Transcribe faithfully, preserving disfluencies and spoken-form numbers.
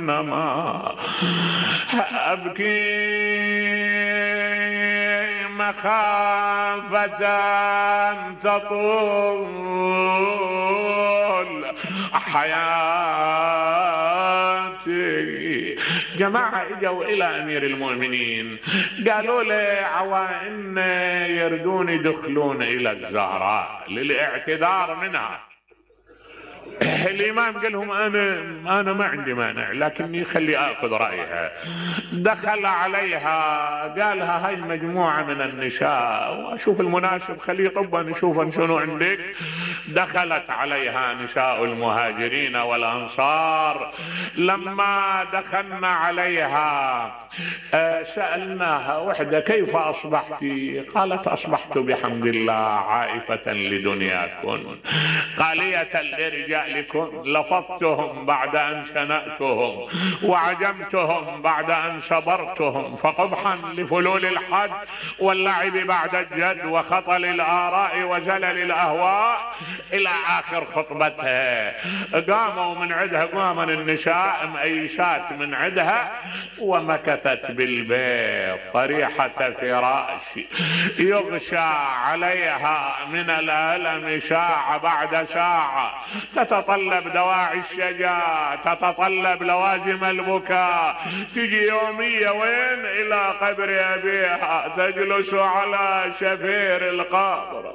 إنما أبكي مخافة تطول حياتي. جماعة اجوا الى امير المؤمنين قالوا له عوائن يردون يدخلون الى الزهراء للاعتذار منها. الامام قال لهم انا انا ما عندي مانع لكني خلي اخذ رايها. دخل عليها قالها هاي مجموعه من النساء واشوف المناسب خليه طبا نشوف شنو عندك. دخلت عليها نساء المهاجرين والانصار. لما دخلنا عليها سالناها وحده كيف اصبحت؟ قالت اصبحت بحمد الله عائفه لدنياكم قاليه لرجالكم لفظتهم بعد ان شنأتهم وعجمتهم بعد ان صبرتهم فقبحا لفلول الحد واللعب بعد الجد وخطل الاراء وزلل الاهواء الى اخر خطبتها. قاموا من عندها قام النساء مأيسات من عندها ومكثت بالبيت طريحة فراش يغشى عليها من الألم ساعة بعد ساعة. تتطلب دواعي الشجاع تتطلب لوازم البكاء. تجي يومية وين إلى قبر أبيها تجلس على شفير القبر.